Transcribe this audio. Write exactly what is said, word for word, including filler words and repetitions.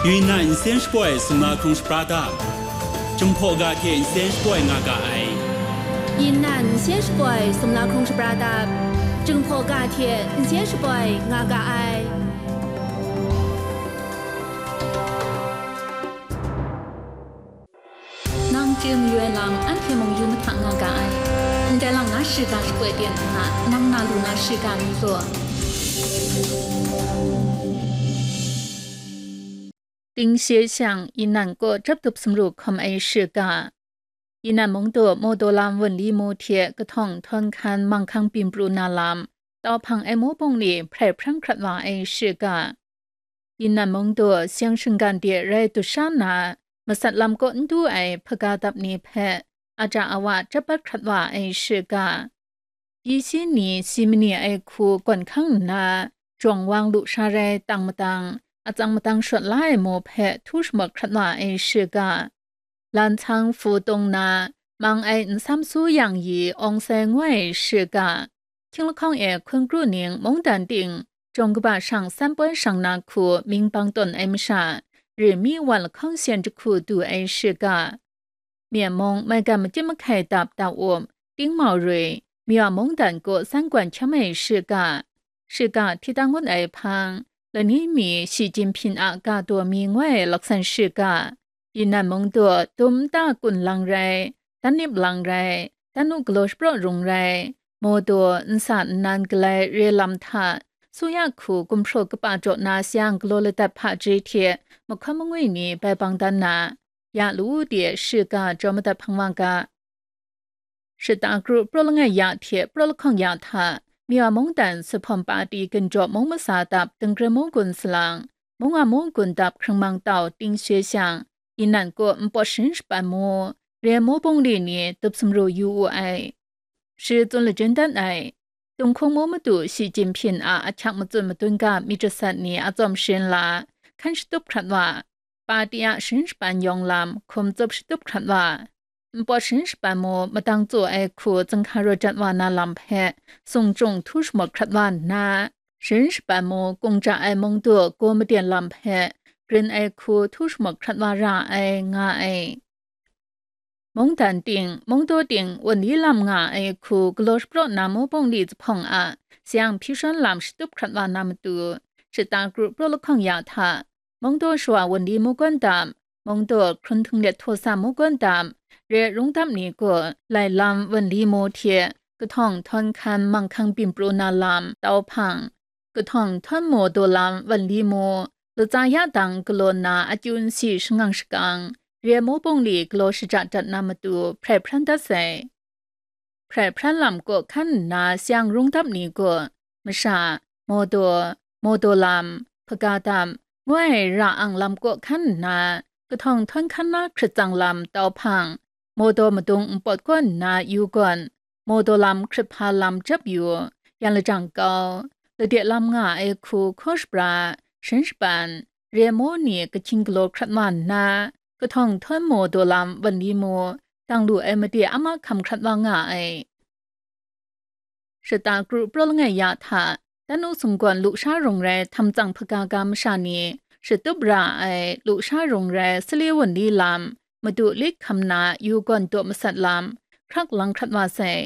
Yunnan nsen shapoi sumla hkrung shapra dap, Jinghpaw ga hte nsen shapoi nga ga ai. Yunnan nsen shapoi sumla hkrung shapra dap, Jinghpaw ga hte nsen shapoi nga ga ai. Nang chye mayu ai lam anhte mung yu mahta nga ga ai. Ndai lang na shiga shapoi ten nna, nang na lu na shiga mi law. Tingshie shang Yunnan kaw jap dup sumru hkawm ai shiga. Yunnan mungdaw Mawdaw lam wunli mu hte kahtawng htawn hkan manghkang byin pru na lam, tau hpang ai mu bungli hprai hpran hkrat wa ai shiga. Yunnan mungdaw seng shinggan de rai dusha na, masat lam kaw n du ai hpaga dap ni hpe aja awa jap bat hkrat wa ai shiga. Pyi shi ni si mani ai hku gawn hkang nna, jawng wang lu sha rai tang madang, atsang madang shawt la ai mu hpe htu shamawt hkrat wa ai shiga. Lan htsang hpu tong na, mang ai nsam su yang yi awng sai ngoi shiga. Hkying lahkawng e hkun kru ning mungdan ting, jawng kaba shang san poi shang na hku ming bang tawn ai masha, ri mi wan lahkawng syen jahku du ai shiga. Myen mung maigan majim mahkai dap tau up, tingmau rui, mya mungdan kaw san gwan hkyam ai shiga. Shiga hti dang ngut ai hpang, lani mi Shi Jinhping a ga daw mi ngoi laksan shiga. Yunnan mungdaw dum nta kun lang rai, dan nip lang rai, dan nu galaw shapraw rung rai, mawdaw nsa nnan galai re lam hta, su ya hku gumhpraw kapa jaw na sayang galaw ladat hpaji hte mahkawn mangwi ni bai bang dan na, ya lu de shiga jaw madat hpang wa ga. Shata kru praw langai ya hte praw lahkawng ya hta, mya mungdan suphawm pati ginjaw mung masa dap dingre mung gun salang, mung a mung gun dap hkrang mang tau tingshie shang, Yunnan kaw npawt sharin shapan mu, re mu bungli ni dup sumru yu wu ai. Shi tsun lajin dat ai. Tung hkung mu madu Shi Jinhping a ahkyak matsun madun ga myit jasat ni a tsawm sharin la, hkan shatup hkrat wa, pati a sharin shapan yawng lam hkum tsup shatup hkrat wa, npawt sharin shapan mu madang tsaw ai hku zinghka raw jat wa na lam hpe sung chyung htu shamawt hkrat wa nna, sharin shapan mu kung ja ai mungdaw gaw maden lam hpe grin ai hku htu shamawt hkrat wa ra ai, nga ai. Mungdan ting, mungdaw ting, wunli lam nga ai hku galaw shapraw na mu bungli zuphpawng a sayang hpyi shawn lam shatup hkrat wa na matu, shata kru praw lahkawng ya hta, mungdaw shawa wunli mu gawn dam, mungdaw hkrun htung let htaw sa mu gawn dam, re rung dam ni gaw lai lam wunli mu hte kahtawng htawn hkan manghkang byin pru na lam tau hpang, kahtawng htawn mu daw lam wunli mu, latsa ya dang galaw nna akyu nsi shangang shakang, re mu bungli galaw shaja dat na matu hprai hpran dat sai. Hprai hpran lam kaw hkan nna sayang rung dap ni gaw, masha, mawdaw, mawdaw lam, hpaga dam, ngoi ra ang lam kaw hkan nna, kahtawng htawn hkan na hkrit tsang lam tau hpang, mawdaw madung npawt kaw nna yu gawn, mawdaw lam hkrit hpa lam jap yu, yan lajang kau, lade lam nga ai hku hkaw shapra, sharin shapan, re mu ni kahkying galaw hkrat wa nna, kahtawng htawn mawdaw lam wunli mu, dang lu ai made a mahkam hkrat wa nga ai. Shata kru praw langai ya hta, dan nu sung gawn lu sha rung rai htam tsang hpaga ga masha ni, shatup ra ai lu sha rung rai sali wunli lam, madu lit hkam na yu gawn daw masat lam, hkrak lang hkrat wa sai.